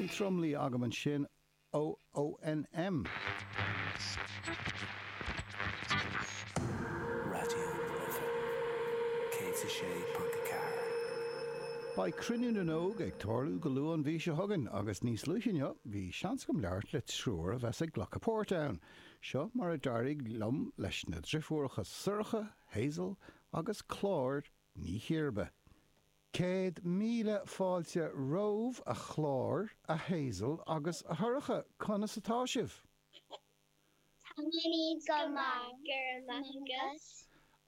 Bhí Tromluí agam ansin ó ONM. Raidió na Life 106.4. Beidh Cruinniú na nÓg ag tarlú go luath an mhí seo chugainn agus níos luaithe inniu bhí seans agam labhairt le triúr a bheas ag glacadh páirt ann. Seo mar a d'éirigh liom leis na driofúracha Sorcha, Hazel agus Clár Ní Chiarba. 100,000 fáilte romhaibh a Chlár, a Hazel agus a Shorcha, conas atá sibh? Táimid go maith, go raibh maith agat.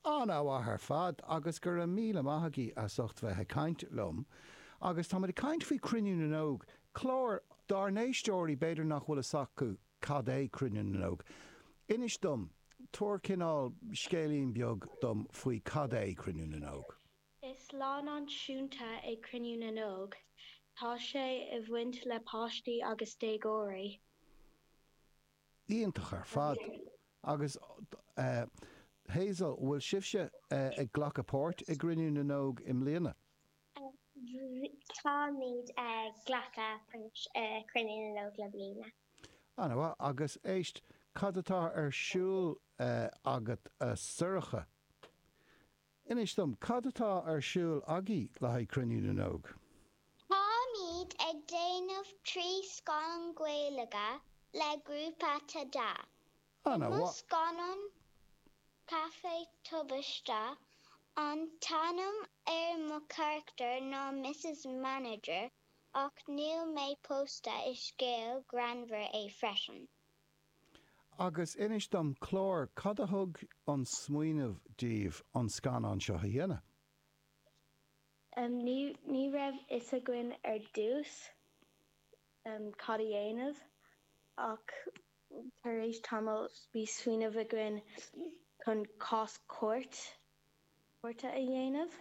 An-mhaith ar fad agus go raibh míle maith agaibh as ucht bheith ag caint liom. Agus táimid ag caint faoi Cruinniú na nÓg, clár dár n-éisteoirí b'fhéidir nach bhfuil fhios acu cad é Cruinniú na nÓg. Inis dom, tabhair cineál scéilín beag dom faoi cad é Cruinniú na nÓg. Is lá náisiúnta é Cruinniú na nÓg. Tá sé i bhaint le páistí agus déagóirí. Iontach ar fad. Agus Hazel, bhfuil sibhse ag glacadh páirt i gCruinniú na nÓg i mbliana? Táimid ag glacadh páirt i Cruinniú na nÓg i mbliana. An-mhaith. Agus éist, cad atá ar siúl agat a Sorcha? Inis dom, cad atá ar siúl agaibh le haghaidh Cruinniú na nÓg? Táimid ag déanamh 3 scannán Gaeilge le grúpa Tada. I mo scannán Caife Tubaiste, an t-ainm ar mo charachtar ná Mrs Manager ach níl mé pósta is scéal greannmhar é freisin. Agus inis dom, Clár, cad a thug an smaoineamh daoibh an scannán seo a dhéanamh? Ní raibh fhios againn ar dtús cad a dhéanamh ach tar éis tamaill bhí smaoineamh againn chun cás cúirt, cúirte a dhéanamh.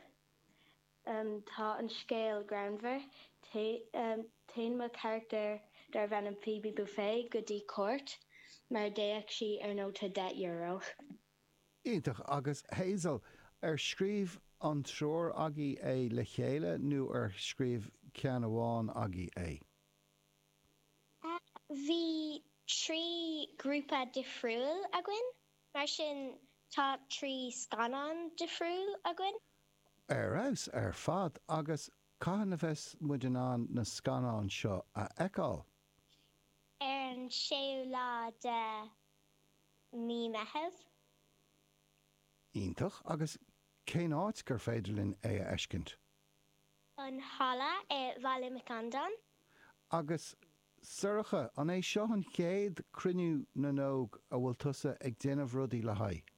Tá an scéal greannmhar. Téann mo charachtar darbh ainm Phoebe Buffay go dtí cúirt mar d'fhéach sí ar nóta €10. Iontach. Agus Hazel, ar scríobh an triúr agaibh é le chéile nó ar scríobh ceann amháin agaibh é? Bhí 3 grúpa difriúil againn, mar sin tá 3 scannán difriúil againn. Ar fheabhas ar fad! Agus cathain a bheas muid in ann na scannáin seo a fheiceáil? Ar an séú lá de mí Meitheamh. Iontach! Agus cén áit gur féidir linn é a fheiscint? An Halla i Bhaile Mhic Andáin. Agus Sorcha, an é seo an chéad Cruinniú na nÓg a bhfuil tusa ag déanamh rudaí le haghaidh?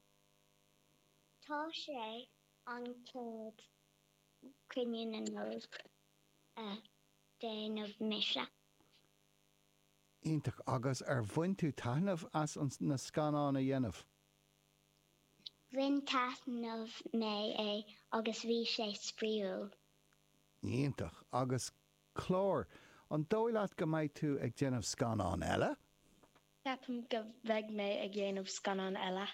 Tá sé an chéad Cruinniú na nÓg a déanamh mise. Iontach. Agus ar bhain tú taitneamh as na scannáin a dhéanamh? Bhain taitneamh mé é agus bhí sé spraíúil. Iontach. Agus Clár, an dóigh leat go mbeidh tú ag déanamh scannán eile? Ceapaim go mbeidh mé ag dhéanamh scannán eile.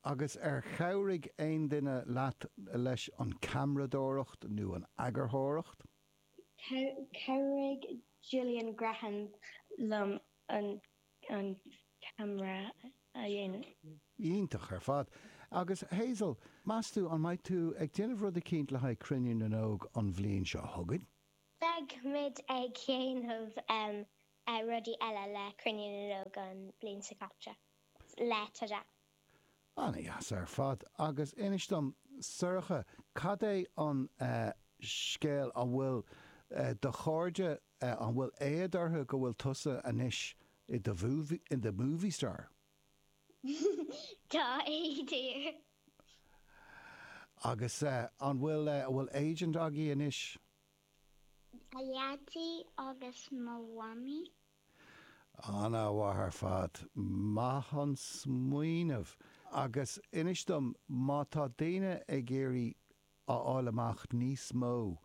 Agus ar chabhraigh aon duine leat leis an ceamaradóireacht nó an eagarthóireacht? Chabhraigh Gillian Grehan liom an ceamara a dhéanamh. Iontach ar fad. Agus Hazel, meas tú an mbeidh tú ag déanamh rud eicínt le haghaidh Cruinniú na nÓg an bhliain seo chugainn? Beidh muid ag déanamh rudaí eile le Cruinniú na nÓg an bhliain seo caite le Tada. Ana-dheas ar fad. Agus inis dom, Sorcha, cad é an scéal, an bhfuil do chairde, an bhfuil éad orthu go bhfuil tusa anois i do i do movie star? Tá éad air. Agus an bhfuil, an bhfuil agent agaibh anois? Mo dhaidí agus mo mhamaí. Ana-mhaith ar fad. Maith an smaoineamh. Agus inis dom, má tá daoine ag iarraidh a fháil amach níos mó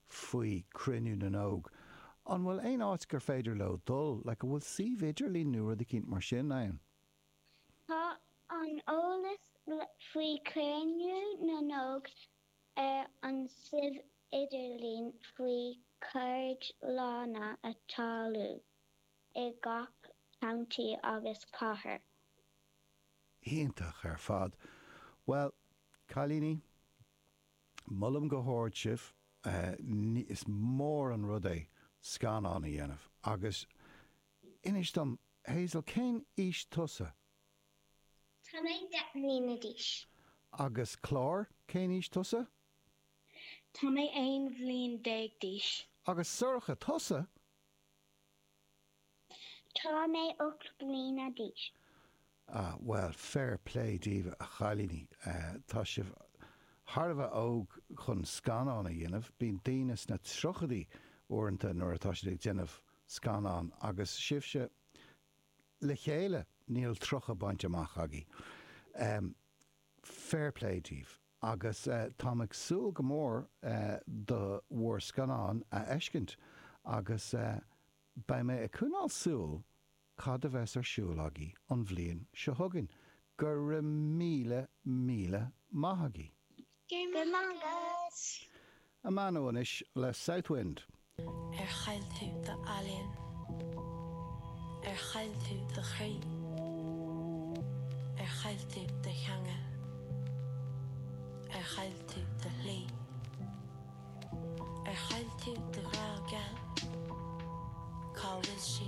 faoi Cruinniú na nÓg, an bhfuil aon áit gur féidir leo dul? Like, an bhfuil suíomh idirlín nó rud eicínt mar sin ann? Tá an eolas faoi Chruinniú na nÓg ar an suíomh. idirlín faoi ceardlanna a tarlú i gach county agus cathair. Iontach ar fad. Bhuel, cailíní, molaim go hard sibh. Is mór an rud é scannán a dhéanamh. Agus inis dom, Hazel, cén aois tusa? Tá mé 10 mbliana d'aois. Agus Clár, cén aois tusa? Tá mé 11 bhliain d'aois. Agus Sorcha, tusa? Tá mé 8 mbliana d'aois. Ah, bhuel, fair play daoibh, a chailíní. Tá sibh thar a bheith óg chun scannán a dhéanamh. Bíonn daoine sna tríochaidí uaireanta nuair atá siad ag déanamh scannán agus sibhse le chéile níl 30 bainte amach agaibh. Fair play daoibh. Agus táim ag súil go mór do bhur scannán a fheiscint agus beidh mé ag coinneáil súil cad a bheas ar siúl agaibh an bhliain seo chugainn. Go raibh míle míle maith agaibh. Go raibh maith agat. Amano anois le Southwind. Ar chaill tú d'ealaín? Ar chaill tú do chroí? Ar chaill tú do theanga? Ar chaill tú do shlí? Ar chaill tú do ghrá geal? Cá bhfuil sé?